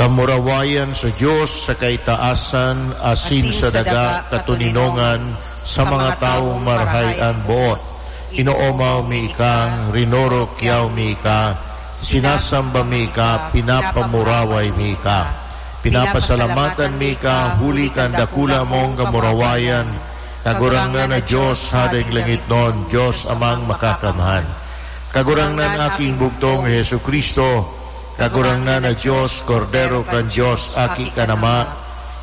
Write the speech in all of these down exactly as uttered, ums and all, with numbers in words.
Kamurawayan sa Dios sa kaitaasan, asin sa daga katoninongan sa mga tawong marahay an boot. Inoomaw mi ika, rinurukyaw mi ika, sinasamba mi ika, pinapamuraway mi ika. Pinapasalamatan mi ika huli kan dakula mong kamurawayan, Kagurangnan na Dios, Hadeng langitnon, Dios Amang Makakamhan. Kagurangnan, Aking bugtong Jesu-Cristo, Kagurangnan na Dios, Kordero kan Dios, Aki kan Ama,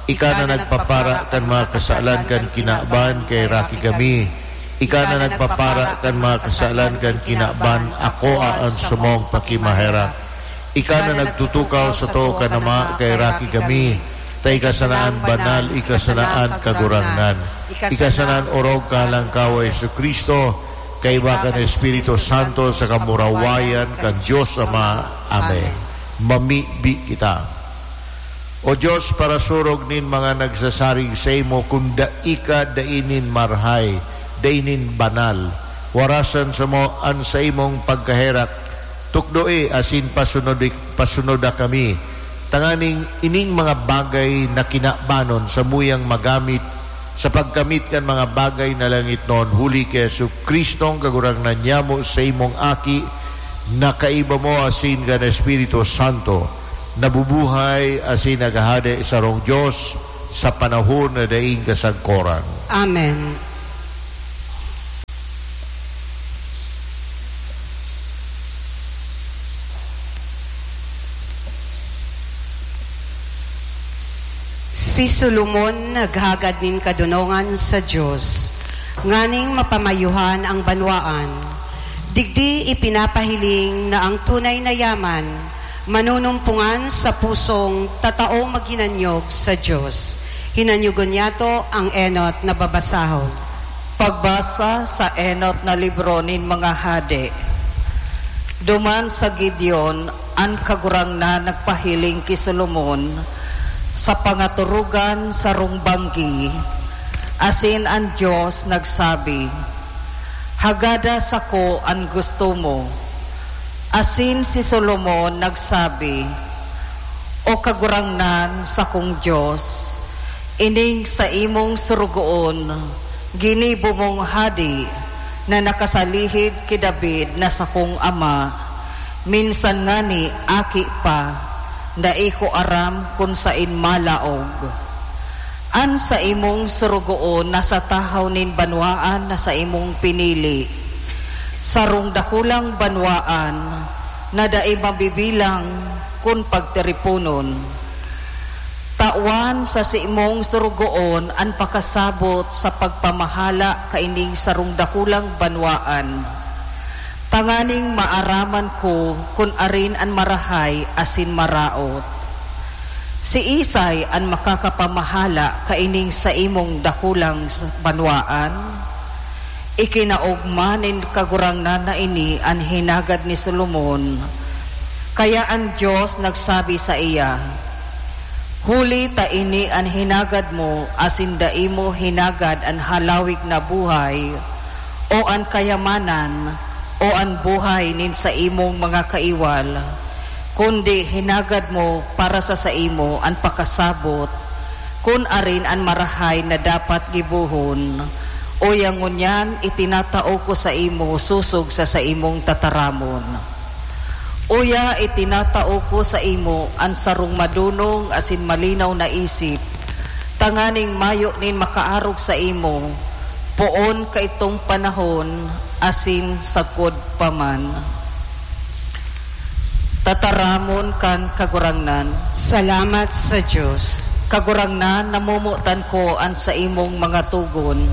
ika na nagpapara kan mga kasalan kan kinaban, kaheraki kami. Ika na nagpapara kan mga kasalan kan kinaban, akoa an samong pakimaherak. Ika na nagtutukaw sato kan Ama, kaheraki kami. Ta ika sana an banal, ika sana an Kagurangnan. Ika sana an orog kan Alangkaw, Jesu-Cristo, kaiba kan Espiritu Santo, sa kamurawayan kan Dios Ama. Amen. Mamibi kita. O Dios, parasurog nin mga nagsasarig saimo, kun dai ka dai nin marahay, dai nin banal. Warasan samo an saimong pagkaherak, tukdoe asin pasunodi-, pasunoda kami, tanganing ining mga bagay na kinabanon samuyang magamit sa pagkamit kan mga bagay na langitnon, huli ki Jesu-Cristong Kagurangnan nyamo, saimong Aki, na kaiba mo asin kan Espiritu Santo, nabubuhay asin naghahade sarong Dios sa panahon na daing kasagkoran. Amen. Si Solomon naghagad nin kadonongan sa Dios, nganing mapamayuhan ang banwaan. Digdi ipinapahiling na ang tunay na yaman manunumpongan sa pusong tataong maghinanyog sa Dios. Hinanyogon niyato ang enot na babasahon. Pagbasa sa enot na libro nin mga hade. Duman sa Gideon, an Kagurangnan nagpahiling ki Solomon sa pangaturugan sarong banggi, asin an Dios nagsabi, "Hagada sako an gusto mo." Asin si Solomon nagsabi, "O Kagurangnan, sakong Dios, ining saimong sorogoon, ginibo mong hade na nakasalihid ki David na sakong ama, minsan ngani aki pa, dai ko aram kun saen malaog. An saimong sorogoon nasa tahaw nin banwaan na saimong pinili, sarong dakulang banwaan na dai mabibilang kun pagtiriponon. Tawan sa saimong sorogoon an pakasabot sa pagpamahala kaining sarong dakulang banwaan, tanganing maaraman ko kun arin an marahay asin maraot. Siisay an makakapamahala kaining saimong dakulang s-, banwaan?" Ikinaogma nin Kagurangnan na ini an hinagad ni Solomon. Kaya an Dios nagsabi saiya, "Huli ta ini an hinagad mo, asin dai mo hinagad an halawig na buhay, o an kayamanan, o an buhay nin saimong mga kaiwal, kundi hinagad mo para sa saimo an pakasabot, kun arin an marahay na dapat gibohon. Uya ngunyan itinatao ko saimo sosog sa saimong tataramon. Uya itinatao ko saimo an sarong madonong asin malinaw na isip, tanganing mayo nin makaarog saimo, poon kaitong panahon asin sagkod pa man." Tataramon kan Kagurangnan. Salamat sa Dios. Kagurangnan, namomotan ko an saimong mga togon.